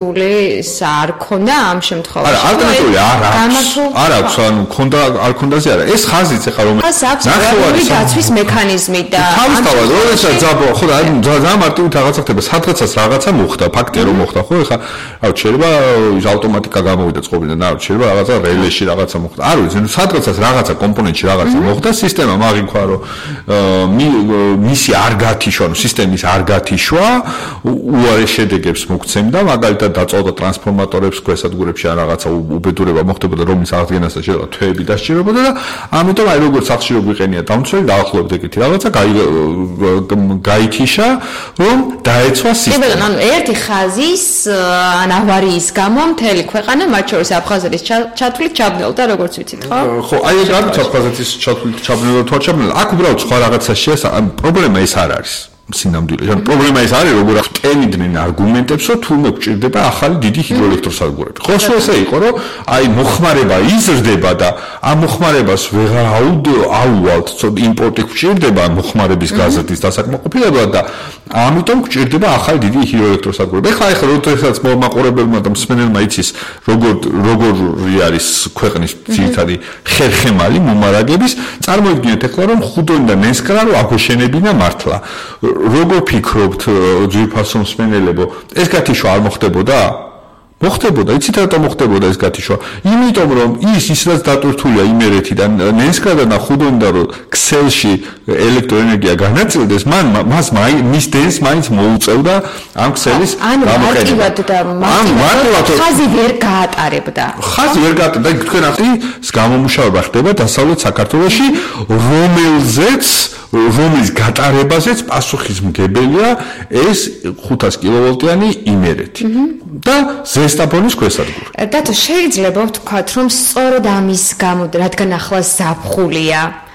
არ ქონდა ამ შემთხვევაში. არა, ალტერნატიული არ აქვს, ანუ ქონდა არ ქონდაზე არა. ეს ხაზიც ახლა რომ ნახევარი დაცვის მექანიზმი და თავისთავად როდესაც ძაბვა, ხო და ძალიან მარტივით რაღაცა ხდება, სადღაცაც რაღაცა მოხდა, ფაქტია რომ მოხდა, ხო, ახლა რა შეიძლება ავტომატიკა გამოვიდა წყობიდან, რა შეიძლება რაღაცა რელეში რაღაცა მოხდა. არ ვიცი, სადღაცაც რაღაცა კომპონენტში რაღაცა მოხდა, სისტემა მაგიქვა რომ მისი არ გათიშვა, ანუ სისტემის არ გათიშვა, უარეს შედეგებს მოგცემდა, მაგალითად დაწოდა ტრანსფორმატორებს ქვესადგურებში ან რაღაცა უბედურება მოხდებოდა რომის აღდგენასთან შეიძლება თვეები დასჭირებოდა და ამიტომ აი როგორც სახში რო გვიყენია დამცველი დაახლოებით ეგეთი რაღაცა გაითიშა რომ დაეცვა სისტემა. ანუ ერთი ხაზის ან ავარიის გამო მთელი ქვეყანა მათ შორის აფხაზეთის ჩათვლით ჩაბნელდა როგორც ვიცით ხო? ხო აი ეს არის აფხაზეთის ჩათვლით ჩაბნელდა თუ არ ჩაბნელდა აქ უბრალოდ სხვა რაღაცა პრობლემა ეს არ არის. სინამდვილე. ანუ პრობლემა ის არის, როგორ აღტენიდნენ არგუმენტებს, რომ თურმე გვჭირდება ახალი დიდი ჰიდროელექტროსადგურები. ხო, ესე იყო, რომ აი მოხმარება იზრდება და ამ მოხმარებას ვეღარ აუვალთ, ცოტა იმპორტი გვჭირდება მოხმარების გაზრდის დასაკმაყოფილებლად და ამიტომ გვჭირდება ახალი დიდი ჰიდროელექტროსადგურები. ეხლა როდესაც მოყურებელმა და მსმენელმა იცის, როგორი არის ქვეყნის ძირითადი ხერხემალი მომარაგების, წარმოიდგინეთ ეხლა რომ ხუდონი და ნენსკრა რო აგვეშენებინა მართლა. როგორ ფიქრობთ ძვირფასო მსმენელებო ეს გათიშვა არ მოხდებოდა? მოხდებოდა, იცით რატომ მოხდებოდა ეს გათიშვა? იმიტომ რომ ის რაც დატვირთულია იმერეთიდან ნენსკრადან და ხუდონიდან რომ ქსელში ელექტროენერგია განაწილდეს, მას მის დენს მაინც მოუწევდა ამ ქსელის გამოკეთება. ხაზი ვერ გაატარებდა. ხაზი ვერ გაატარებდა, თქვენ ახლა გამომუშავება ხდება დასავლეთ საქართველოში, რომლის გატარებაზეც პასუხისმგებელია ეს 500 კილოვოლტიანი იმერეთი და ზესტაფონის ქვესადგური. დათო შეიძლება ვთქვათ რომ სწორედ ამის გამო რადგან ახლა ზაფხულია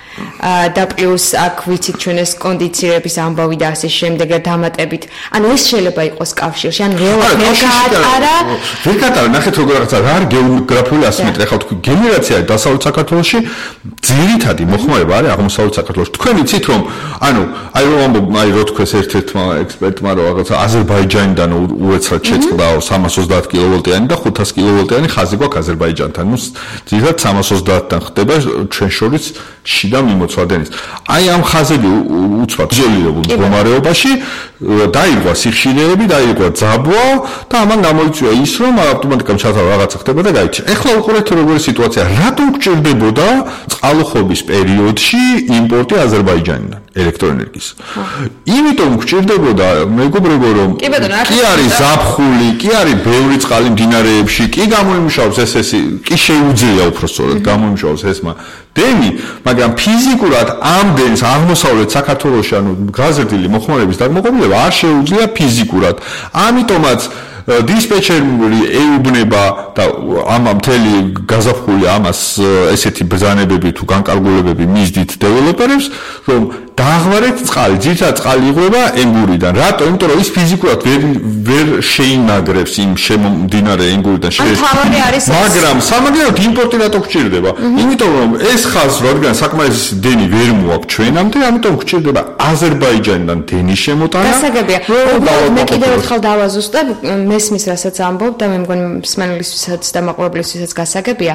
და პლუს აქ ვიცით ჩვენ ეს კონდიცირების ამბავი და ასე შემდეგ და დამატებით ანუ ეს შეიძლება იყოს კავშირში ან ვერ გაატარა ნახეთ როგორ რაღაცა რა არის გეოგრაფიული ასიმეტრია ახლა თქვი გენერაცია დასავლეთ საქართველოში ძირითადი მოხმარება არის აღმოსავლეთ საქართველოში თქვენ იცით რომ ანუ აი რო თქვეს ერთ-ერთმა ექსპერტმა რომ რაღაცა აზერბაიჯანიდან უეცრად შეწყდა 330 კილოვოლტიანი და 500 კილოვოლტიანი ხაზი გვაქვს აზერბაიჯანთან ნუ ძირითადად 330-დან ხდება ჩვენ შორის შიდა მიმოცვადენის. აი ამ ხაზები უცბად იზოლირებულ მდგომარეობაში დაიღვა სიხშირეები, დაიღვა ძაბვა და ამან გამოიწვია ის, რომ ავტომატიკურად ჩათავა რაღაცა ხდება და გაიჩა. ეხლა უყურეთ როგორი სიტუაცია. რატომ გჭირდებოდა წყალუხობის პერიოდში იმპორტი აზერბაიჯანიდან ელექტროენერგიის? იმიტომ გჭირდებოდა, მეგობრებო, რომ კი არის ზაფხული, კი არის ბევრი წყალი მდინარეებში, კი გამოიმუშავებს ესესი, კი შეუძლია უпростоრად გამოიმუშავოს ესმა დენი, მაგრამ ფიზიკურად ამ დენს აღმოსავლეთ საქართველოში ანუ გაზრდილი მოხმარების დაკმაყოფილება არ შეუძლია ფიზიკურად. ამიტომაც დისპეჩერი ეუბნება და ამ მთელი გაზაფხული ამას ესეთი ბრძანებები თუ განკარგულებები მისდით დეველოპერებს, რომ დააღვარეთ წყალი, ძირითადად წყალი იღება ენგურიდან. რატო? იმიტომ რომ ის ფიზიკურად ვერ შეინაგრებს იმ შემომდინარე ენგურიდან მაგრამ სამაგიეროდ იმპორტი რატო გჭირდება? იმიტომ რომ ეს ხაზი რადგან საკმარისი დენი ვერ მოაქვს ჩვენამდე, ამიტომ გჭირდება აზერბაიჯანიდან დენის შემოტანა. გასაგებია. მე კიდევ ერთხელ დავაზუსტებ მესმის რასაც ამბობ და მე მგონი მსმენელისთვისაც და მაყურებლისთვისაც გასაგებია.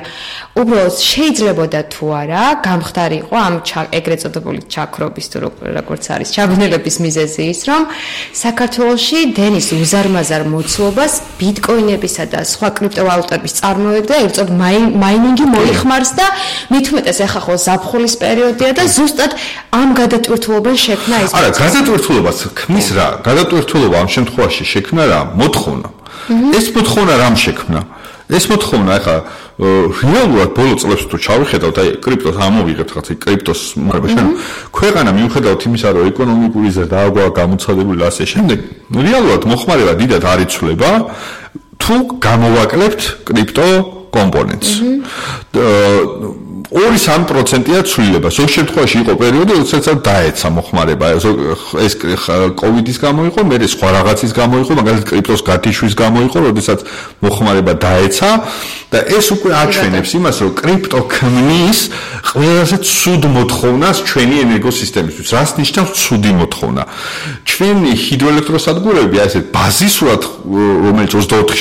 უბრალოდ შეიძლებოდა თუ არა გამხდარიყო ამ ეგრეთ წოდებული ჩაქრობის თუ როგორც არის ჩაბნელების მიზეზი ის რომ საქართველოში დენის უზარმაზარ მოცულობას ბიტკოინებისა და სხვა კრიპტოვალუტების წარმოება და ერთოდ მაინინგი მოიხმარს და მithumetes ახლა ხო ზაფხულის პერიოდია და ზუსტად ამ გადატვირთულობენ შექმნა ის. არა, გადატვირთულობას ქმნის რა? გადატვირთულობა ამ შემთხვევაში შექმნა რა? მოთხოვნა. ეს მოთხოვნა რამ შექმნა? ეს მოთხოვნა ახლა რეალურად ბოლო წლებში თუ ჩავიხედავთ, აი კრიპტოს ამოვიღებთ ხაცი კრიპტოს მარბაშენ. ქვეყანა მიუხედავად იმისა, რომ ეკონომიკური ზრდა აქვს გამოცხადებული ასე შემდეგ, რეალურად მოხმარება დიდად არ იცვლება თუ გამოვაკლებთ კრიპტო კომპონენტს. 2-3%-ია ცვლილება. ზოგ შემთხვევაში იყო პერიოდი, როდესაც დაეცა მოხმარება. ეს კოვიდის გამო იყო, მე სხვა რაღაცის გამო იყო, მაგალითად კრიპტოს გათიშვის გამო იყო, როდესაც მოხმარება დაეცა და ეს უკვე აჩვენებს იმას, რომ კრიპტო ქმნის ყველაზე ცუდ მოთხოვნას ჩვენი ენერგოსისტემისთვის. რას ნიშნავს ცუდი მოთხოვნა? ჩვენი ჰიდროელექტროსადგურები, ასე ბაზისურად, რომელიც 24